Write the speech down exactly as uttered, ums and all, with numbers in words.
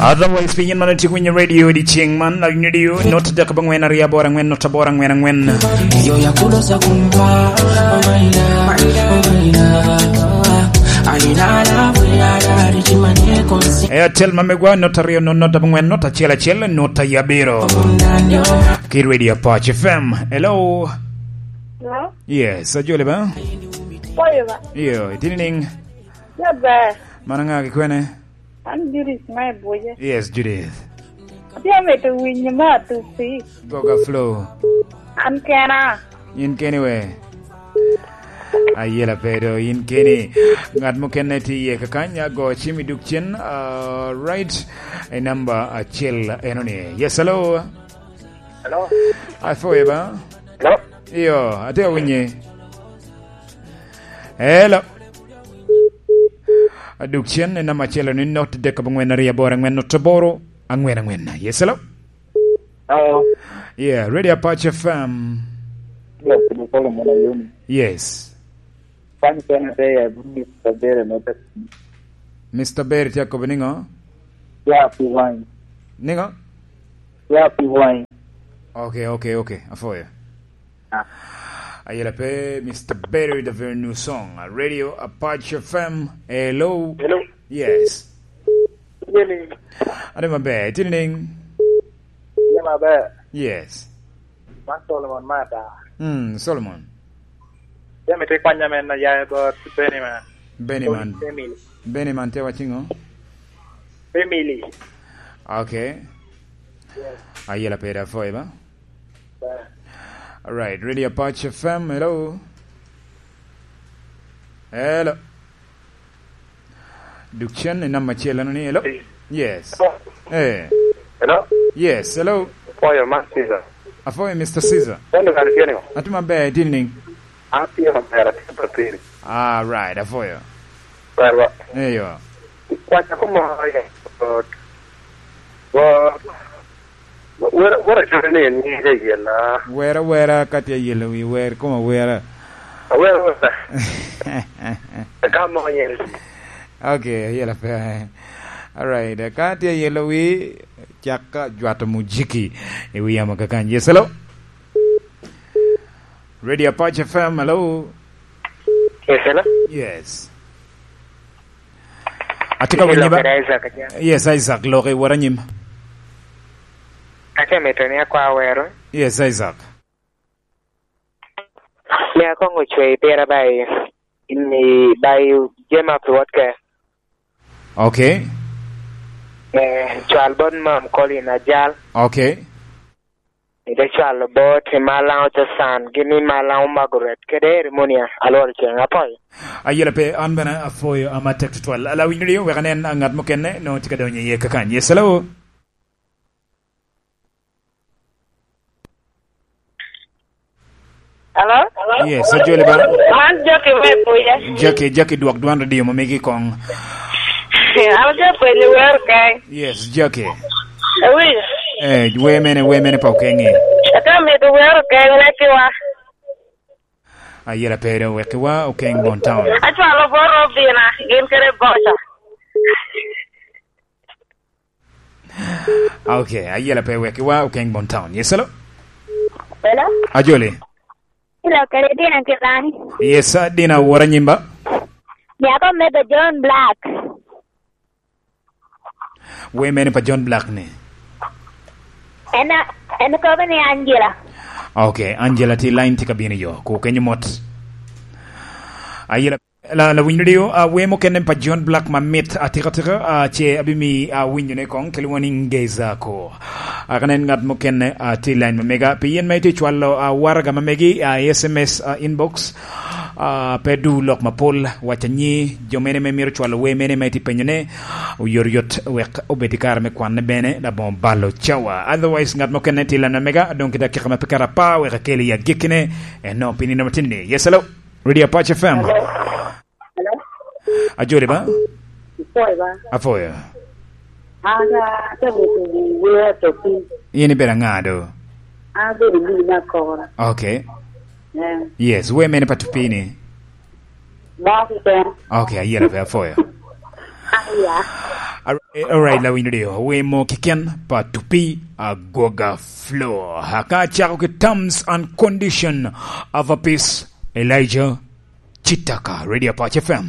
Otherwise, pi yin man itye winyo radio di ceng man, la radio, not dek abongwen aryo aboro angwen, not aboro angwen angwen. Yo ya kulo sa kumpa, oh my love, oh my love. Aina na we ada di chimane konsi. Airtel ma megwa, not aryo, not, not abongwen, not achiel achiel, not aboro. Ki radio Apache F M. Hello. Hello? Yes, ajole ba? Oyo ba? Yo, itini ning? Ya ba? Mana nga ki kwene? An Judith ma i Buce. Yes, Judith. Atye amito winyo me Atusi. Goga Flow. An kena. In keni we? Ayela pedo, in keni. Ngat mukene tye iye kakany, ago cim i duk cen, ah, right, e namba acel eno ni. Yes, hello. Hello. Afoye ba? Hello. Iyo, atye awinye. Hello. Aduk cen, en namba acel ni not dek abongwen aryo aboro angwen not aboro angwen angwen. Yes, hello? Hello. Yeah, Radio Apache F M. Yes, ni Solomon Ayumi. Yes. Kwany kene te ya, Mister Bere no te. Mister Bere tye akobo niŋo? Ya pi wine. Niŋo? Ya pi wine. Okay, okay, okay. Afoyo. Ah. Ayela pe, Mister Berry, the very new song. Uh, Radio Apache F M. Hello. Hello. Yes. Ade maber, itye niŋ? Tye maber. Yes. Man Solomon Mata. Mm, Solomon. Jami te kwanya men na ya about Benny man. Benny man. Family. Benny man te wacingo? Family. Okay. Yes. Ayela pe da foy ba? Ba. All right, Radio Apache F M, hello. Hello. Duk cen i namba acel, ano ni, hello? Hey. Yes. Hello? Eh. Hello? Yes, hello. Afoyo, man Caesar. Afoyo, Mister Caesar. Wendo kan tye niŋo? Atye maber, itye niŋ? Atye maber, atye papiri. All right, afoyo. Ber ba? Eyo. Kwaca ko moro ye. But, but, Wera, wera cwere ni en ŋec ayela. Wera, wera, ka tye ayelo wi wer, koma wera. Awera, wera. Ka mo yen. Okay, ayela pe. All right, ka tye ayelo wi, cak ka jwato mujiki i wi yamo kakany. Yes, hello? Radio Apache F M, hello? Yes, hello? Yes. Atye ka winyo ba? Lokere Isaac, aja. Yes, Isaac, loki wot anyim. Atye mito ni akwa wero. Yes, Isaac. Me akoŋo cwe i pira ba i, i, ba i jema pi wot ke. Okay. Eh, cwal bot mam Colin Ajal. Okay. Ite cwalo bot i Malaŋo Casan, gin i Malaŋo Margaret, kede Erimonia, alworo ceŋ apoyo. Ayela pe, an bene afoyo ama tek tutwal. Ala winyo dio, wek anen, a, ngat mukene, no tye ka donyo iye kakany. Yes, hello? Hello? Yes, ajoli ba? Man Jackie me Buye. Jackie, Jackie, dwok dwan radio ma megi kong. An atye penyo wer kany. Yes, Jackie. Ewinyo? Eh, wer mene, wer mene pa Okenge? Atye mito wer Okenge, wekiwa. Ayela pe do, wekiwa, Okenge Bon Town. Acwalo bot Robina, gin kede boca. Okay, ayela pe, wekiwa, Okenge Bon Town. Yes, hello? Hello? Ajoli. Hello, kede Dina Kilani. Yes, sir, Dina, wora nyimba. Nyako me the John Black. Wer mene pa John Black ni? En a, en kobo ni Angela. Okay, Angela, ti line ti ka bino yo. Ku kenyo mot. Ayela, la, la winyo dio, a, wer mukene pa John Black ma mit atika tika, a, ce abimi, a, winyo ne kong, kelo wani ngeza ko. A, kanen ngat mukene, a, ti line ma mega. Pi yen ma iti cwalo, a, waraga ma megi, a, S M S, a, inbox. Ah, pe du lok mapol, wac anyi, jo mene me mito cwalo wer mene ma itye penyone, oyotoyot wek obed i kare me kwanne bene, labongo balo cawa. Otherwise, ngat mukene tye i line ma mega, adong ki dakika ma pe kara apar, wek akel i agikkine, eno, pi nino matino ni. Yes, hello? Radio Apache F M. Hello? Hello? Ajoli ba? Ipoyo ba? Apoyo. An, ah, atye mito wer Atupi. In ibedo aŋa do? An abedo Lili me Akora. Okay. Eh. Yes, wer mene pa Atupi ni? Mo keken. Okay, ayera pe apoyo. Aya. Ar-, Alright, lawiny radio, we mo kiken pa tupi agwoga flow. Aka chako ki terms and condition of a peace, Elijah Chitaka, Radio Apache F M.